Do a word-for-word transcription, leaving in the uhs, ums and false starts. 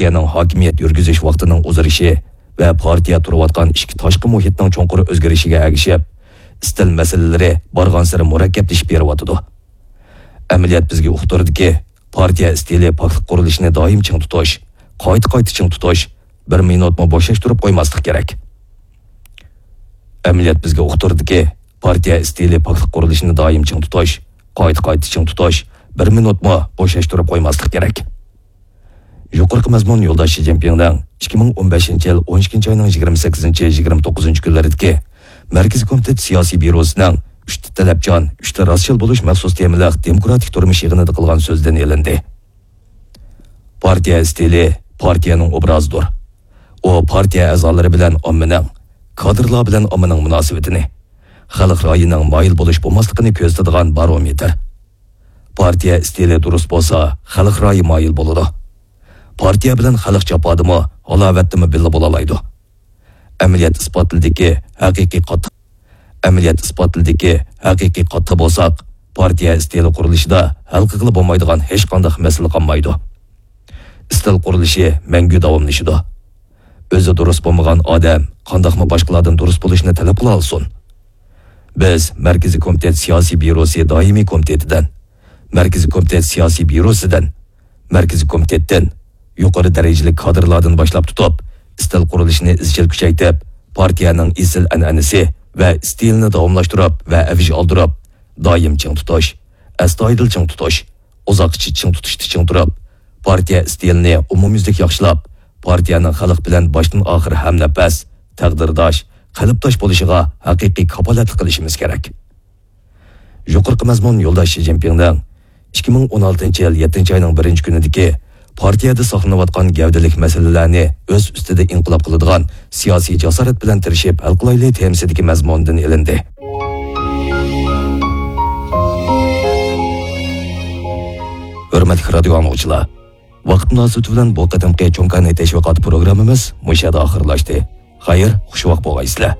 پارتىيەنىڭ ھاكىمىيەت يۈرگۈزۈش ۋاقتىنىڭ ئۇزىرىشى ۋە پارتىيە تۇرۇۋاتقان ئىچكى تاشقى مۇھىتنىڭ چوڭقۇر ئۆزگىرىشىگە ئەگىشىپ، ئىستىل مەسىلىلىرى بارغانسېرى مۇرەككەپلىشىپ بېرىۋاتىدۇ. ئەمەلىيەت بىزگە ئۇقتۇردىكى، پارتىيە ئىستىلى پاكلىق قۇرۇلۇشىنى دائىم چىڭ تۇتۇش، قايتا-قايتا چىڭ تۇتۇش، بىر مىنۇتمۇ بوشاشتۇرۇپ قويماسلىق كېرەك. ئەمەلىيەت بىزگە ئۇقتۇردىكى، پارتىيە ئىستىلى پاكلىق قۇرۇلۇشىنى دائىم چىڭ تۇتۇش، قايتا-قايتا چىڭ تۇتۇش، بىر مىنۇتمۇ بوشاشتۇرۇپ قويماسلىق كېرەك. يۇقىرىقى مەزمۇن يولداش شى جىنپىڭنىڭ ئىككى مىڭ ئون بەشىنچى يىل ئون ئىككىنچى ئاينىڭ يىگىرمە سەككىزىنچى، يىگىرمە توققۇزىنچى كۈنلىرىدىكى مەركىزىي كومىتېت سىياسىي بيۇروسىنىڭ ئۈچتە تەلەپچان، ئۈچتە راستچىل بولۇش مەخسۇس تېمىلىق دېموكراتىك تۇرمۇش يىغىنىدا قىلغان سۆزىدىن ئېلىندى. پارتىيە ئىستىلى پارتىيەنىڭ ئوبرازىدۇر. ئۇ پارتىيە ئەزالىرى بىلەن ئاممىنىڭ، كادىرلار بىلەن ئاممىنىڭ مۇناسىۋىتىنى، خەلق رايىنىڭ مايىل بولۇش بولماسلىقىنى كۆرسىتىدىغان بارومېتىر. پارتىيە ئىستىلى دۇرۇس بولسا، خەلق رايى مايىل بولىدۇ. پارتىيە بىلەن خەلق جاپادىمۇ، ھالاۋەتتىمۇ بىللە بولالايدۇ. ئەمەلىيەت ئىسپاتلىدىكى ھەقىقىي قاتتىق، ئەمەلىيەت ئىسپاتلىدىكى ھەقىقىي قاتتىق بولساق، پارتىيە ئىستىلى قۇرۇلۇشىدا ھەل قىلغىلى بولمايدىغان ھېچقانداق مەسىلە قالمايدۇ. ئىستىل قۇرۇلۇشى مەڭگۈ داۋاملىشىدۇ. ئۆزى دۇرۇس بولمىغان ئادەم قانداقمۇ باشقىلاردىن دۇرۇس بولۇشنى تەلەپ قىلالىسۇن؟ بىز مەركىزىي كومىتېت سىياسىي بيۇروسى دائىمىي كومىتېتىدىن، مەركىزىي كومىتېت سىياسىي بيۇروسىدىن، مەركىزىي كومىتېتتىن، يۇقىرى دەرىجىلىك كادىرلاردىن باشلاپ تۇتۇپ، ئىستىل قۇرۇلۇشىنى ئىزچىل كۈچەيتىپ، پارتىيەنىڭ ئېسىل ئەنئەنىسى ۋە ئىستىلىنى داۋاملاشتۇرۇپ ۋە ئەۋج ئالدۇرۇپ، دائىم چىڭ تۇتۇش، ئەستايىدىل چىڭ تۇتۇش، ئۇزاققىچە چىڭ تۇتۇشتا چىڭ تۇرۇپ، پارتىيە ئىستىلىنى ئومۇميۈزلۈك ياخشىلاپ، پارتىيەنىڭ خەلق بىلەن باشتىن ئاخىر ھەمنەپەس، تەقدىرداش، قېلىپداش بولۇشىغا ھەقىقىي كاپالەتلىك قىلىشىمىز كېرەك. يۇقىرىقى مەزمۇن يولداش شى جىنپىڭنىڭ ئىككى مىڭ ئون ئالتىنچى يىل يەتتىنچى ئاينىڭ بىرىنچى كۈنىدىكى پارتىيەدە ساقلىنىۋاتقان گەۋدىلىك مەسىلىلەرنى ئۆز ئۈستىدە ئىنقىلاب قىلىدىغان سىياسىي جاسارەت بىلەن تىرىشىپ ھەل قىلايلى تېمىسىدىكى مەزمۇندىن ئېلىندى. ھۆرمەتلىك رادىيو ئاڭلىغۇچىلار، ۋاقىت مۇناسىۋىتى بىلەن بۇ قېتىمقى چوڭ كاناي تەشۋىقات پروگراممىمىز مۇشۇ يەردە ئاخىرلاشتى. خەير، خۇش ۋاقىت بولغايسىلەر.